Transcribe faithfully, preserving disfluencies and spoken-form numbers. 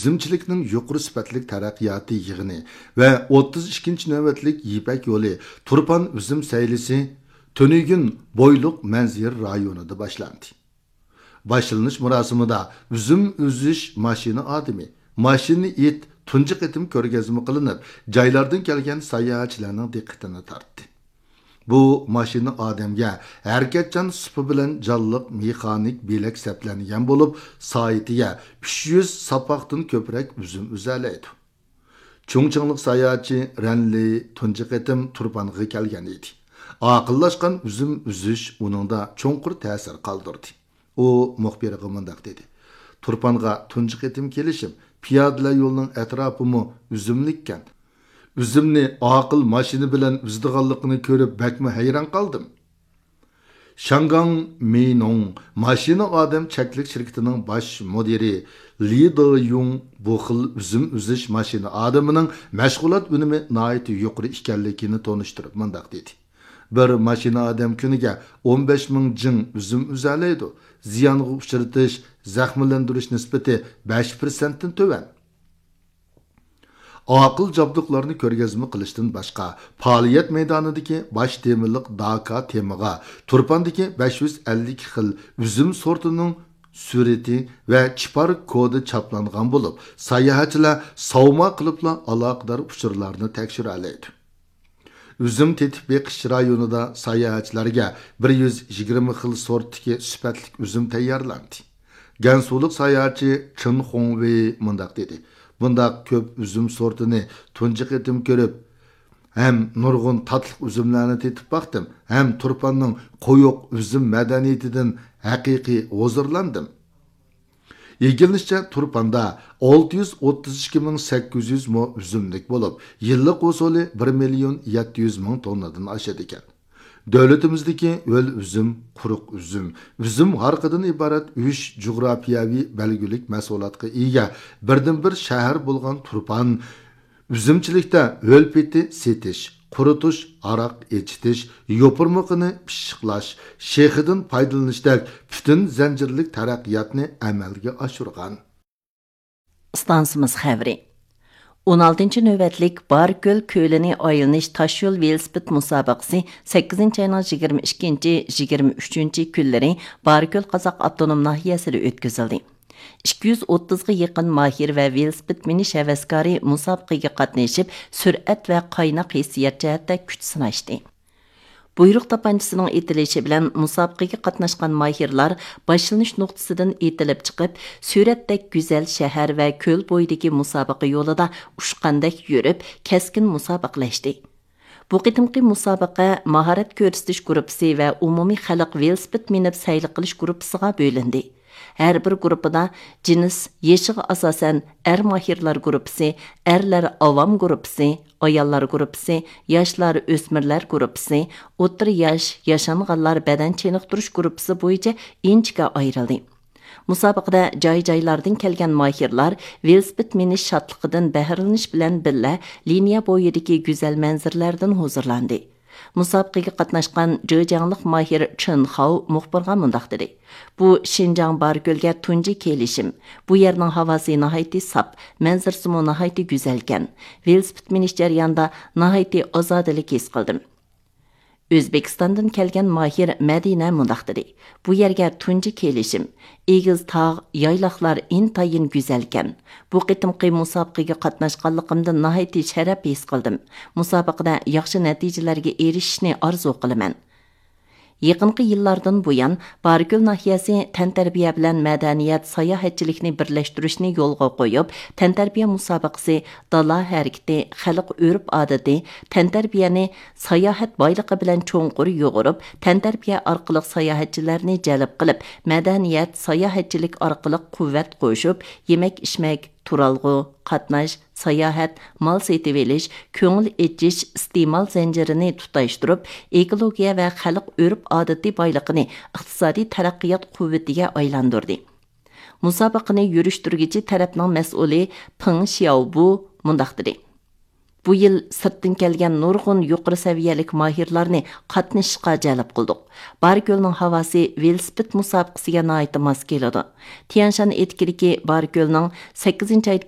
ئۈزۈمچىلىكنىڭ يۇقىرى سۈپەتلىك تەرەققىياتى يىغىنى ۋە ئوتتۇز ئىككىنچى نۆۋەتلىك يىپەك يولى تۇرپان ئۈزۈم سەيلىسى تۈنۈگۈن بويلۇق مەنزىرە رايونىدا باشلاندى. باشلىنىش مۇراسىمىدا ئۈزۈم ئۈزۈش ماشىنا ئادىمى، ماشىنا ئىت تۇنجى قېتىم كۆرگەزمە قىلىنىپ، جايلاردىن كەلگەن ساياھەتچىلەرنىڭ دىققىتىنى تارتتى. بۇ ماشىنا ئادەمگە ھەرىكەتچان سۇپا بىلەن جانلىق مېخانىك بۆلەك سەپلەنگەن بولۇپ، سائىتىگە ئۈچ يۈز ساپاقتىن كۆپرەك ئۈزۈم ئۈزەلەيدۇ. چۇڭچىڭلىق ساياھەتچى رەنلى تۇنجى قېتىم تۇرپانغا كەلگەن ئىدى. ئاقىللاشقان ئۈزۈم ئۈزۈش ئۇنىڭدا چوڭقۇر تەسىر قالدۇردى. ئۇ مۇخبىرغا مۇنداق دېدى: «تۇرپانغا تۇنجى قېتىم كېلىشىم، پىيادىلەر يولىنىڭ ئەتراپىمۇ ئۈزۈملۈككەن. ئۈزۈمنى ئاقىل ماشىنا بىلەن ئۈزىدىغانلىقىنى كۆرۈپ بەكمۇ ھەيران قالدىم.» شاڭگاڭ مىنۇڭ ماشىنا ئادەم چەكلىك شىركىتىنىڭ باش مۇدىرى لى دېيۇڭ بۇ خىل ئۈزۈم ئۈزۈش ماشىنا ئادىمىنىڭ مەشغۇلات ئۈنۈمى ناھايىتى يۇقىرى ئىكەنلىكىنى تونۇشتۇرۇپ مۇنداق دېدى: «بىر ماشىنا ئادەم كۈنىگە ئون بەش مىڭ جىڭ ئۈزۈم ئۈزەلەيدۇ. زىيانغا ئۇچرىتىش، زەخىملەندۈرۈش نىسبىتى بەش پىرسەنتتىن تۆۋەن.» ئاقىل جابدۇقلارنى كۆرگەزمە قىلىشتىن باشقا، پائالىيەت مەيدانىدىكى باش تېمىلىق داكا تېمىغا تۇرپاندىكى بەش يۈز ئەللىك خىل ئۈزۈم سورتىنىڭ سۈرىتى ۋە چىپار كودى چاپلانغان بولۇپ، ساياھەتچىلەر ساۋما قىلىپلا ئالاقىدار ئۇچۇرلارنى تەكشۈرەلەيدۇ. ئۈزۈم تېتىپ بېقىش رايونىدا ساياھەتچىلەرگە بىر يۈز يىگىرمە خىل سورتتىكى سۈپەتلىك ئۈزۈم تەييارلاندى. گەنسۇلۇق ساياھەتچى چېن خۇڭۋېي مۇنداق دېدى: «بۇنداق كۆپ ئۈزۈم سورتىنى تۇنجى قېتىم كۆرۈپ، ھەم نۇرغۇن تاتلىق ئۈزۈملەرنى تېتىپ باقتىم، ھەم تۇرپاننىڭ قويۇق ئۈزۈم مەدەنىيىتىدىن ھەقىقىي ھۇزۇرلاندىم.» ئىگىلىنىشىچە، تۇرپاندا ئالتە يۈز ئوتتۇز ئىككى مىڭ سەككىز يۈز مو ئۈزۈملۈك بولۇپ، يىللىق ھوسۇلى بىر مىليون يەتتە يۈز مىڭ توننىدىن ئاشىدىكەن. دۆلىتىمىزدىكى ھۆل ئۈزۈم، قۇرۇق ئۈزۈم، ئۈزۈم ھارىقىدىن ئىبارەت ئۈچ جۇغراپىيەۋى بەلگىلىك مەھسۇلاتقا ئىگە بىردىنبىر شەھەر بولغان تۇرپان ئۈزۈمچىلىكتە ھۆل پېتى سېتىش، قۇرۇتۇش، ھاراق ئېچىتىش، يوپۇرمىقىنى پىششىقلاش، شېخىدىن پايدىلىنىشتەك پۈتۈن زەنجىرلىك تەرەققىياتنى ئەمەلگە ئاشۇرغان. ئىستانسىمىز خەۋىرى. ئون ئالتىنچى نۆۋەتلىك باركۆل كۆلىنى ئايلىنىش تاشيول ۋېلىسىپىت مۇسابىقىسى سەككىزىنچى ئاينىڭ يىگىرمە ئىككىنچى، يىگىرمە ئۈچىنچى كۈنلىرى باركۆل قازاق ئاپتونوم ناھىيەسىدە ئۆتكۈزۈلدى. ئىككى يۈز ئوتتۇزغا يېقىن ماھىر ۋە ۋېلىسىپىت مىنىش ھەۋەسكارى مۇسابىقىگە قاتنىشىپ، سۈرئەت ۋە قايناق ھېسسىيات جەھەتتە كۈچ سىناشتى. بۇيرۇق تاپانچىسىنىڭ ئېتىلىشى بىلەن مۇسابىقىگە قاتناشقان ماھىرلار باشلىنىش نۇقتىسىدىن ئېتىلىپ چىقىپ، سۈرەتتەك گۈزەل شەھەر ۋە كۆل بويىدىكى مۇسابىقە يولىدا ئۇچقاندەك يۈرۈپ، كەسكىن مۇسابىقىلەشتى. بۇ قېتىمقى مۇسابىقە ماھارەت كۆرسىتىش گۇرۇپپىسى ۋە ئومۇمىي خەلق ۋېلىسىپىت مىنىپ سەيلە قىلىش گۇرۇپپىسىغا بۆلۈندى. ھەر بىر گۇرۇپپىدا جىنس يېشىغا ئاساسەن ئەر ماھىرلار گۇرۇپپىسى، ئەرلەر ئاۋام گۇرۇپپىسى، ئاياللار گۇرۇپپىسى، ياشلار ئۆسمۈرلەر گۇرۇپپىسى، ئوتتۇرا ياش ياشانغانلار بەدەن چېنىقتۇرۇش گۇرۇپپىسى بويىچە ئىنچىكە ئايرىلدى. مۇسابىقىدە جاي-جايلاردىن كەلگەن ماھىرلار ۋېلىسىپىت مىنىش شادلىقىدىن بەھرىلىنىش بىلەن بىللە، لىنىيە بويىدىكى گۈزەل مەنزىرىلەردىن ھۇزۇرلاندى. مۇسابىقىگە قاتناشقان جېجياڭلىق ماھىر چېن خاۋ مۇخبىرغا مۇنداق دېدى: «بۇ شىنجاڭ باركۆلگە تۇنجى كېلىشىم. بۇ يەرنىڭ ھاۋاسى ناھايىتى ساپ، مەنزىرىسىمۇ ناھايىتى گۈزەلكەن. ۋېلىسىپىت مىنىش جەريانىدا ناھايىتى ئازادىلىك ھېس قىلدىم.» ئۆزبېكىستاندىن كەلگەن ماھىر مەدىنە مۇنداق دېدى: «بۇ يەرگە تۇنجى كېلىشىم. ئېگىز تاغ، يايلاقلار ئىنتايىن گۈزەلكەن. بۇ قېتىمقى مۇسابىقىگە قاتناشقانلىقىمدىن ناھايىتى شەرەپ ھېس قىلدىم. مۇسابىقىدە ياخشى نەتىجىلەرگە ئېرىشىشنى ئارزۇ قىلىمەن.» يېقىنقى يىللاردىن بۇيان، باركۆل ناھىيەسى تەنتەربىيە بىلەن مەدەنىيەت، ساياھەتچىلىكنى بىرلەشتۈرۈشنى يولغا قويۇپ، تەنتەربىيە مۇسابىقىسى، دالا ھەرىكىتى، خەلق ئۆرپ-ئادىتى، تەنتەربىيەنى ساياھەت بايلىقى بىلەن چوڭقۇر يۇغۇرۇپ، تەنتەربىيە ئارقىلىق ساياھەتچىلەرنى جەلپ قىلىپ، مەدەنىيەت، ساياھەتچىلىك ئارقىلىق قۇۋۋەت قوشۇپ، يېمەك-ئىچمەك، تۇرالغۇ، قاتناش، ساياھەت، مال سېتىۋېلىش، كۆڭۈل ئېچىش، ئىستېمال زەنجىرىنى تۇتاشتۇرۇپ، ئېكولوگىيە ۋە خەلق ئۆرپ-ئادىتى بايلىقىنى ئىقتىسادىي تەرەققىيات قۇۋۋىتىگە ئايلاندۇردى. مۇسابىقىنى يۈرۈشتۈرگۈچى تەرەپنىڭ مەسئۇلى پېڭ شياۋبۇ مۇنداق دېدى: «بۇ يىل سىرتتىن كەلگەن نۇرغۇن يۇقىرى سەۋىيەلىك ماھىرلارنى قاتنىشىشقا جەلپ قىلدۇق. باركۆلنىڭ ھاۋاسى ۋېلىسىپىت مۇسابىقىسىگە ناھايىتى ماس كېلىدۇ. تيەنشان ئېتىكىدىكى باركۆلنىڭ سەككىزىنچى ئايدىكى